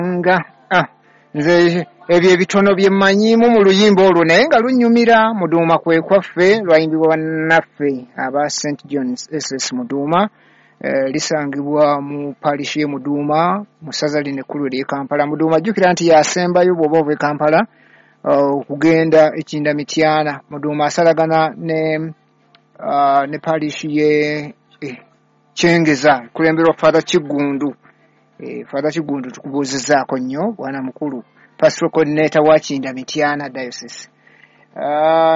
Nga nze ebyo ebitono bye mmanyiimu mu luyimba olwo, naye nga lunnyumira. Muduuma kwe kwaffe, lwayimbibwa bannaffe aba St Johns SS Muduuma. Lisangibwa mu parish ye Muduuma mu ssaza lino ekkulu ery'e Kampala. Muduuma, jjukira nti yasembayo bw'oba ova e Kampala okugenda ekinda Mityana. Muduuma asalagana ne parish ye Kyengeza, kulemberwa Father Kiggundu. Father Kiggundu, tukubuuzizaako nnyo, bwana mukulu pastoral coordinator wa Kinda Mityana Diocese.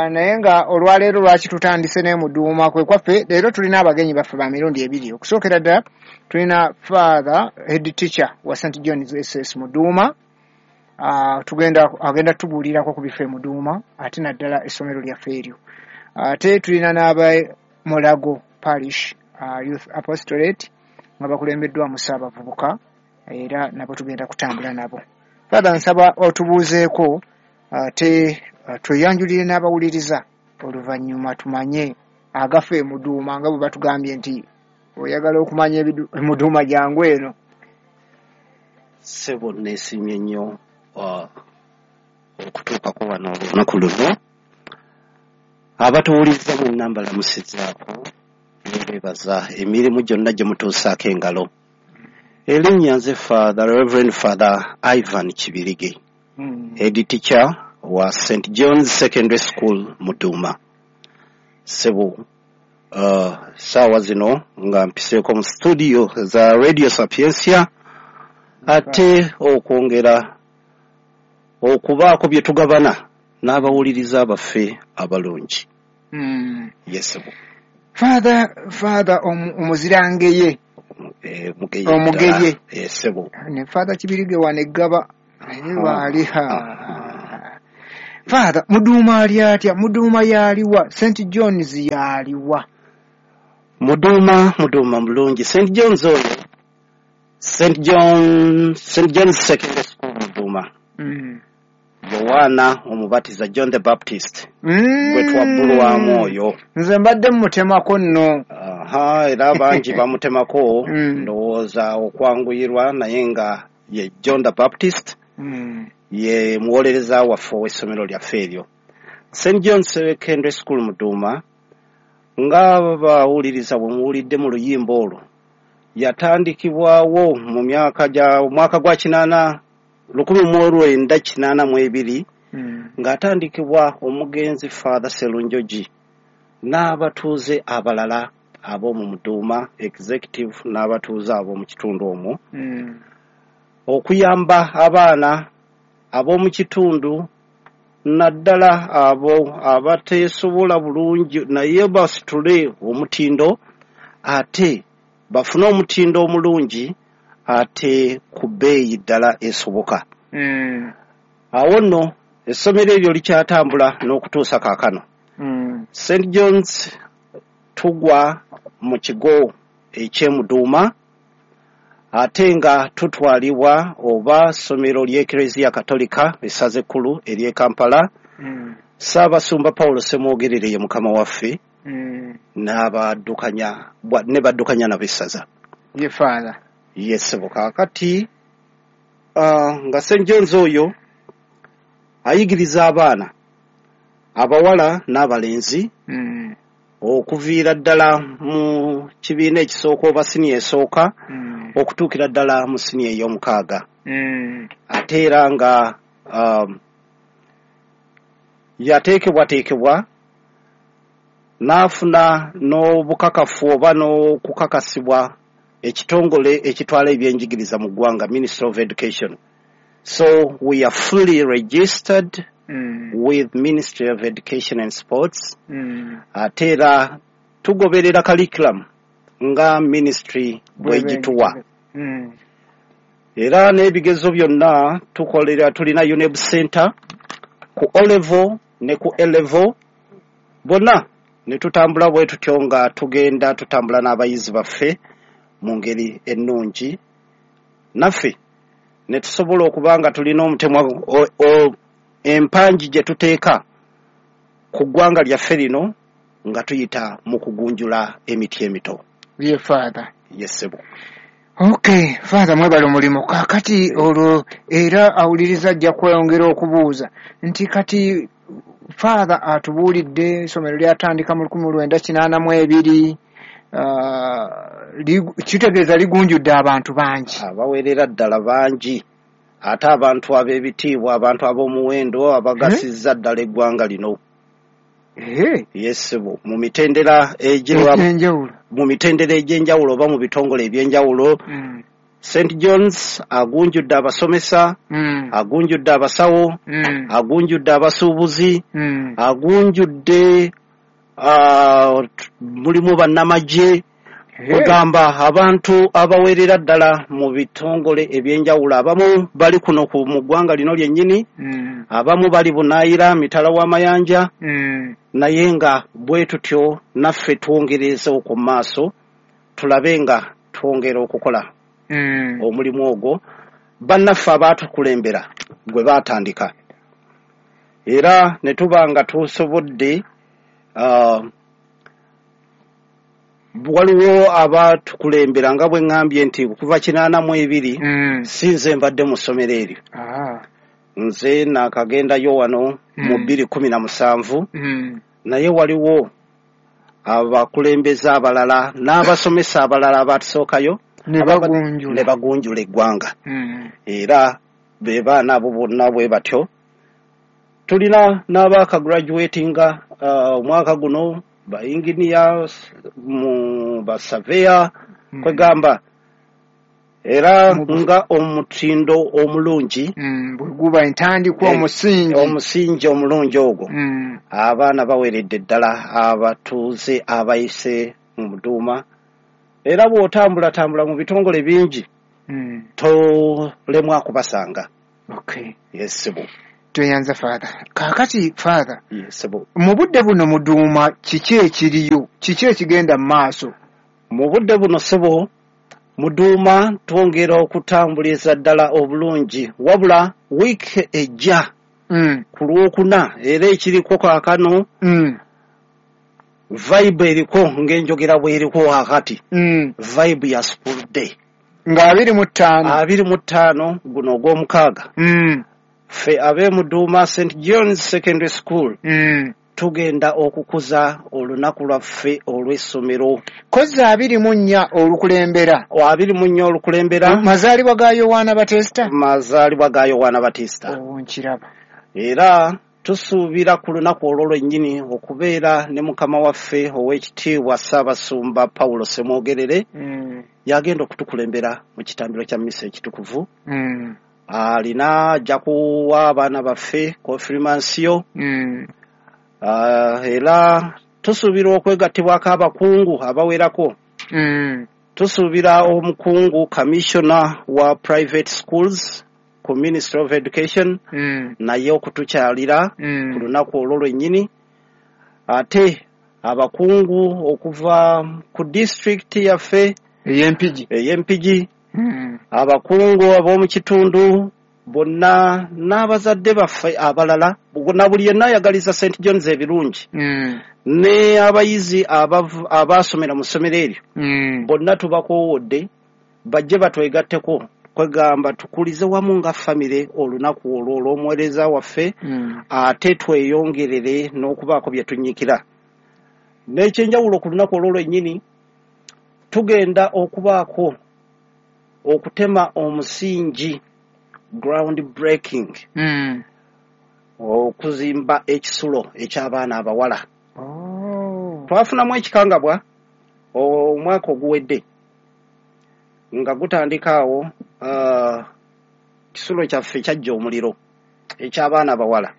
Naye nga olwaleero lwaki tutandise ne Muduuma kwe kwaffe, leero tulina abagenyi baffe ba mirundi ebiri. Okusookera ddala tulina Father, head teacher wa St Johns SS Muduuma. Tugenda agenda tubuulirako ku bifo e Muduuma, ate naddala essomero lyaffe eryo. Ate tulina n'aba Mulago Parish Youth Apostolate nga bakulembeddwamu Ssaabavubuka, era nabo tugenda kutambula nabo. Father, nsaba otubuuzeeko, ate tweyanjulire n'abawuliriza, oluvannyuma tumanye agafa e Muduuma, nga bwe batugambye nti oyagala okumanya Muduuma, jangu eno. Ssebo, neesiimye nnyo okutuukako wano olunaku luno. Abatuwuliriza mwenna mbalamusizaako, nebeebaza emirimu gyonna gye mutuusaako engalo. Erinnya nze Father, Reverend Father Ivan Kibirige, head teacher wa St John's Secondary School Muduuma. Ssebo, saawa zino nga mpiseeko mu studio za Radio Sapientia, ate okwongera okubaako bye tugabana n'abawuliriza baffe abalungi. Yes, ssebo. Father omuzirangeye. Mugeye. Omugeye. Ddala. Ssebo. Ne Father Kibirige wano eggaba naye waali. Father, Muduuma ali atya? Muduuma yaliwa? St Johns yaliwa? Muduuma mulungi. St Johns oyo, St John, St John's Secondary School Muduuma, Yowaana Omubatiza, John the Baptist, gwe twabbulwamu oyo. Nze mbadde mmutemako nno. Aha, era bangi bamutemako, ndowooza okwanguyirwa, naye nga ye John the Baptist, ye muwolereza waffe ow'essomero lyaffe eryo, St John Secondary School Muduuma. Nga bawuliriza bwe muwulidde mu luyimba olwo, yatandikibwawo mu myaka gya omwaka gwa 80, 1982, ng'atandikibwa omugenzi Father Serunjogi n'abatuuze abalala ab'omu Muduuma executive n'abatuuze ab'omu kitundu omwo, okuyamba abaana ab'omu kitundu, naddala abo abateesobola bulungi, naye basitule omutindo, ate bafune omutindo omulungi, ate ku bbeeyi ddala esoboka. Awo nno essomero eryo likyatambula n'okutuusa kaakano. St Johns tugwa mu kigo ekyemuduuma, ate nga tutwalibwa oba ssomero ly'Ekereziya Katolika, essaza ekkulu ery'e Kampala. Ssaabasumba Paulo Semwogerere ye mukama waffe, n'abaddukanya ne baddukanya nabo essaza. Ye Father. Yes, ssebo. Kaakati nga St Johns oyo ayigiriza abaana abawala n'abalenzi, okuviira ddala mu kibiina ekisooka oba siniya esooka, okutuukira ddala mu siniya ey'omukaaga. Ate era nga yateekebwateekebwa n'afuna n'obukakafu oba n'okukakasibwa ekitongole ekitwala ebyenjigiriza mu ggwanga, Ministry of Education. So we are fully registered with Ministry of Education and Sports. Ate era tugoberera curriculum nga ministry bwegituwa. Era n'ebigezo byonna tukolera, tulina UNEB center ku O level ne ku A level bonna, ne tutambula bwe tutyo nga tugenda tutambula n'abayizi baffe mu ngeri ennungi, naffe ne tusobola okuba nga tulina omutemwa empangi gye tuteeka ku ggwanga lyaffe lino nga tuyita mu kugunjula emiti emito. Ye Father. Yes, ssebo. Okay, Father, mwebale omulimu. Kaakati olwo era awuliriza ajja kweyongera okubuuza nti kati Father atubuulidde essomero lyatandika mu 1982, kitegeeza ligunjudde abantu bangi. Abawerera ddala bangi, ate abantu ab'ebitiibwa, abantu ab'omuwendo abagasizza ddala eggwanga lino. Yes, mu mitendera egy'enjawulo, mu mitendera egy'enjawulo oba mu bitongole eby'enjawulo. St. John's agunjudde abasomesa, agunjudde abasawo, agunjudde abasuubuzi, agunjudde mulimu bannamagye, kugamba abantu abawerera ddala mu bitongole ebyenjawulo. Abamu bali kuno mu ggwanga lino lyennyini, abamu bali bunaayira mitala w'amayanja, naye nga bwe tutyo naffe twongereza okwo mu maaso, tulabe nga twongera okukola omulimu ogwo bannaffe abaatukulembera gwe baatandika, era ne tuba nga tusobodde. Waliwo abatukulembera nga bwe ŋŋambye nti okuva 82 si nze mbadde mu ssomero eryo. Nze naakagendayo wano mu 2017, naye waliwo abakulembeze abalala n'abasomesa abalala abatusookayo ne bagunjula eggwanga, era be baana abo bonna bwe batyo. Tulina n'abaakagraduatinga omwaka guno, ba engineers, mu ba surveyor, kwegamba era nga omutindo omulungi bwe guba entandikwa, omusingi, omusingi omulungi ogwo. Abaana baweredde ddala abatuuze abayise mu Muduuma, era bw'otambulatambula mu bitongole bingi tolemwa kubasanga. Okay. Yes, bo. Tweyanza Father. Kaakati Father, Yes, bo. mu budde buno Muduuma kiki ekiriyo? Kiki ekigenda mu maaso? Mu budde buno ssebo, Muduuma twongera okutambuliza ddala obulungi, wabula wiiki ejja ku Lwokuna era ekiriko kaakano, vibe eriko ng'enjogera bw'eriko wakati, vibe ya school day nga 25, 25 guno ogw'omukaaga. Ffe ab'e Muduuma St. John's Secondary School tugenda okukuza olunaku lwaffe olw'essomero. Kozzi 24 olukulembera. 24 olukulembera. Mazaalibwa ga Yowaana Batista? Mazaalibwa ga Yowaana Batista. Nkiraba. Era tusuubira ku lunaku olwo lwennyini okubeera ne mukama waffe ow'ekitiibwa Ssaabasumba Paulo Ssemwogerere, yagenda okutukulembera mu kitambiro kya mmisa ekitukuvu. Alina ajja kuwa abaana baffe konfirmansiyo. Era tusuubira okwegattibwako abakungu abawerako. Tusuubira omukungu commissioner wa private schools ku Ministry of Education naye okutukyalira ku lunaku olwo lwennyini, ate abakungu okuva ku district yaffe ey'Empigi, abakungu ab'omu kitundu bonna n'abazadde baffe abalala, na buli yenna ayagaliza St. John's ebirungi, ne abayizi abaasomera mu ssomero eryo bonna tubakoowodde bajje batwegatteko, kwegamba tukulize wamu nga famire olunaku olwo olw'omuweereza waffe, ate tweyongerere n'okubaako bye tunnyikira. N'ekyenjawulo ku lunaku olwo lwennyini tugenda okubaako okutema omusingi, ground breaking, okuzimba ekisulo eky'abaana abawala. Twafunamu ekikangabwa omwaka oguwedde nga gutandika awo, kisulo kyaffe kyajja omuliro eky'abaana abawala,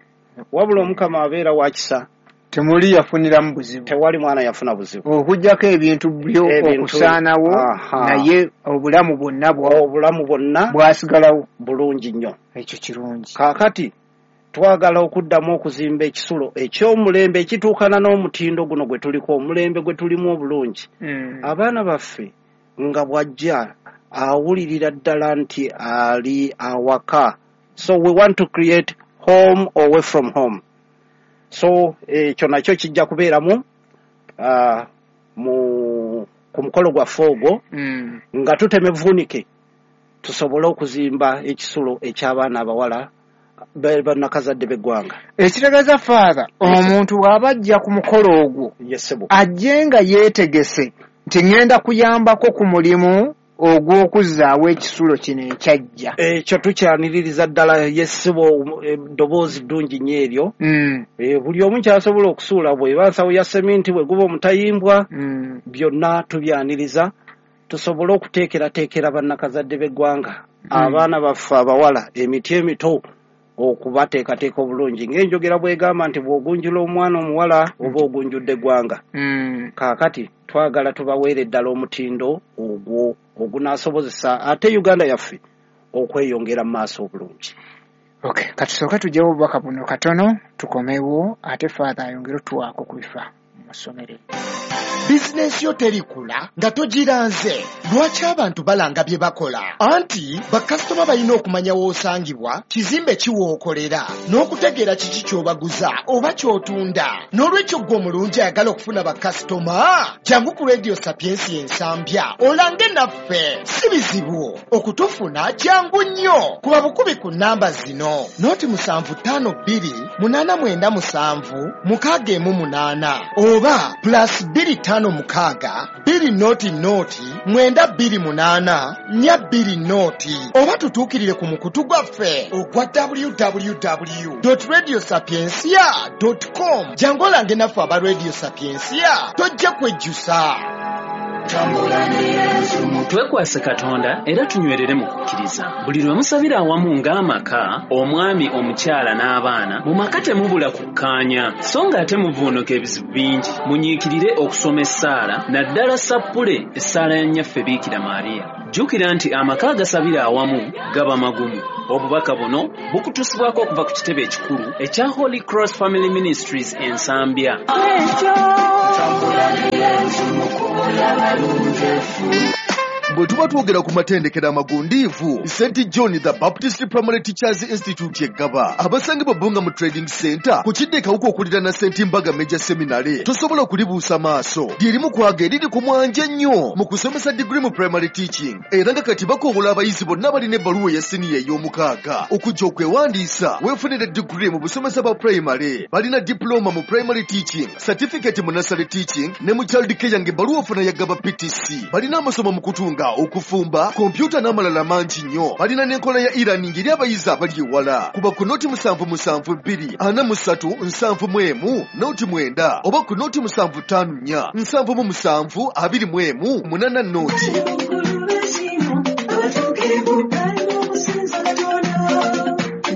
wabula Omukama abeera wa kisa, temuli yafuniramu buzibu, tewali mwana yafuna buzibu, okuggyako ebintu byo okusaanawo, naye obulamu bwonna obulamu bwonna bwasigalawo bulungi nnyo. Ekyo kirungi. Kaakati twagala okuddamu okuzimba ekisulo eky'omulembe ekituukana n'omutindo guno gwe tuliko, omulembe gwe tulimu obulungi. Abaana baffe nga bw'ajja awulirira ddala nti ali awaka. So we want to create home away from home. So ekyo nakyo kijja kubeeramu mu Ku mukolo gwaffe ogwo nga tutema evvuunike tusobole okuzimba ekisulo eky'abaana abawala bannakazadde b'eggwanga. Ekitegeeza, Father, omuntu bw'aba ajja ku mukolo ogwo, Yes, ssebo. ajje nga yeetegese nti ŋŋenda kuyambako ku mulimu ogw'okuzzaawo ekisulo kino ekyajja. Ekyo tukyaniririza ddala, yes, ssebo, eddoboozi ddungi nnyo eryo. Buli omu kyasobola okusuula, bw'eba nsawo ya seminti, bwe guba omutayimbwa, byonna tubyaniriza tusobole okuteekerateekera bannakazadde b'eggwanga, abaana baffe abawala, emiti emito, okubateekateeka obulungi, ng'enjogera bw'egamba nti bw'ogunjula omwana omuwala oba ogunjudde eggwanga. Kaakati twagala tubaweere ddala omutindo ogwo ogunaasobozesa ate Uganda yaffe okweyongera mu maaso obulungi. Okay, katusooke tugyewo obubaka buno katono, tukomewo ate Father ayongere otuwaako ku bifa mu ssomero. Bizinensi yo terikula nga togiranze. Lwaki abantu balanga bye bakola? Anti bakasitoma balina okumanya w'osangibwa, kizimbe ki w'okolera, n'okutegeera kiki ky'obaguza oba ky'otunda. N'olwekyo ggwe omulungi ayagala okufuna bakasitoma, jangu ku Radio Sapiensia Ensambya olange naffe. Si bizibu okutufuna, jangu nnyo kuba bukubi ku nnamba zino: 075 2897 618 oba +256 200 928 420, oba tutuukirire ku mukutu gwaffe ogwa www radio sapiencia com. Jangu olange naffe aba Radio Sapiencia, tojja kwejjusa. Twekwase Katonda era tunywerere mu kukkiriza. Buli lwe musabira awamu ng'amaka, omwami, omukyala n'abaana, mu maka temubula kukkaanya, so ng'ate muvuunuka ebizibu bingi. Munyiikirire okusoma essaala, naddala sappule, essaala ya Nnyaffe Biikira Maariya. Jjukira nti amaka agasabira awamu gaba magumu. Obubaka buno bukutuusibwako okuva ku kitebe ekikulu ekya Holy Cross Family Ministries Ensambya. Bwe tuba twogera ku matendekero amagundiivu, St John the Baptist Primary Teachers Institute eggaba abasangibwa Bbunga mu Trading Center ku kidda ekawuka okuliraana St Mbaga Major Seminary, tosobola kulibuusa maaso. Lyerimu kwaga eriri ku mwanje ennyo mu kusomesa diguri mu primary teaching, era nga kati bakoowola abayizi bonna balina ebbaluwa eya siniya ey'omukaaga okujja okwewandiisa weefunire diguri mu busomesa bwa primary. Balina diploma mu primary teaching, certificate mu nursery teaching ne mu child care, ng'ebbaluwa ofuna yagaba PTC. Balina amasomo mu kutunga, okufumba, kompyuta n'amalala mangi nnyo. Balina n'enkola ya e-learning eri abayizi abali ewala. Kuba ku 077 243 71 09 oba ku 075 477 21 80.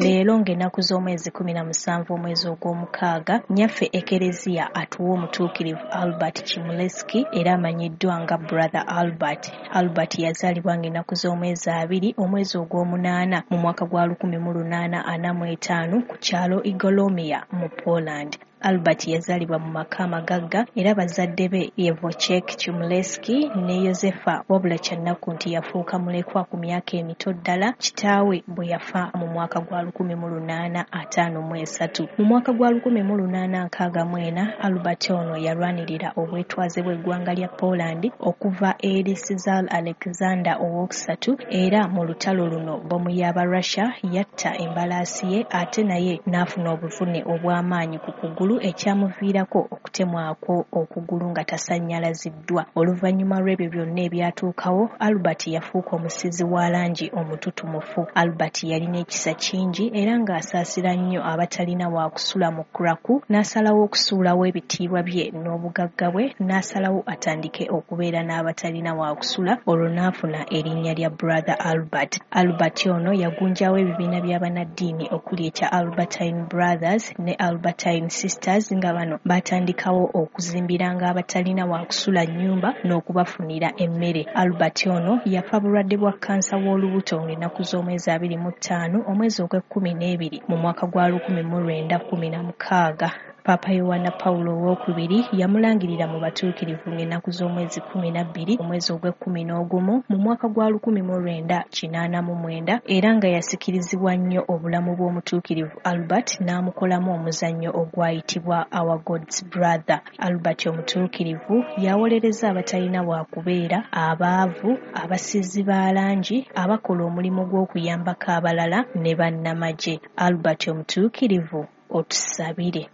Leero ng'ennaku z'omwezi 17 omwezi ogw'omukaaga, Nnyaffe Ekereziya atuwa Omutuukirivu Albert Chmielewski, era amanyiddwa nga Brother Albert. Albert yazaalibwa ng'ennaku z'omwezi 2 omwezi ogw'omunaana mu mwaka gwa 1845 ku kyalo Igolomia mu Poland. Albert yazaalibwa mu maka amagagga era bazadde be ye Wojciech Chmielewski ne Yosefa, wabula kyannaku nti yafuuka mulekwa ku myaka emito ddala kitaawe bwe yafa mu mwaka gwa 1853. Mu mwaka gwa 1864, Albert ono yalwanirira obwetwaze bw'eggwanga lya Poland okuva eri Czar Alexander Owokusatu, era mu lutalo luno bbomu y'aba Russia yatta embalaasi ye ate naye n'afuna obuvune obw'amaanyi ku kugulu ekyamuviirako okutemwako okugulu nga tasannyalaziddwa. Oluvannyuma lw'ebyo byonna ebyatuukawo, Albert yafuuka omusiizi wa langi omututumufu. Albert yalina ekisa kingi era ng'asaasira nnyo abatalina waakusula mu Krakow, n'asalawo okusuulawo ebitiibwa bye n'obugagga bwe, n'asalawo atandike okubeera n'abatalina waakusula, olwo n'afuna erinnya lya Brother Albert. Albert ono yagunjawo ebibiina by'abannaddiini okuli ekya Albertine Brothers ne Albertine Sisters, nga bano batandikawo okuzimbiranga abatalina waakusula nnyumba n'okubafunira emmere. Albert ono yafa bulwadde bwa kkansa w'olubuto ng'ennaku z'omwezi 25 omwezi ogw'ekkumi n'ebiri mu mwaka gwa 1916. Paapa Yowanna Pawulo Owookubiri yamulangirira mu batuukirivu ng'ennaku z'omwezi 12 omwezi ogw'ekkumi n'ogumu mu mwaka gwa 1989 era nga yasikirizibwa nnyo obulamu bw'omutuukirivu Albert n'amukolamu omuzannyo ogwayitibwa Our God's Brother. Albert omutuukirivu yawolereza abatalina waakubeera, abaavu, abasiizi ba langi, abakola omulimu gw'okuyambako abalala ne bannamagye. Albert omutuukirivu otusabire.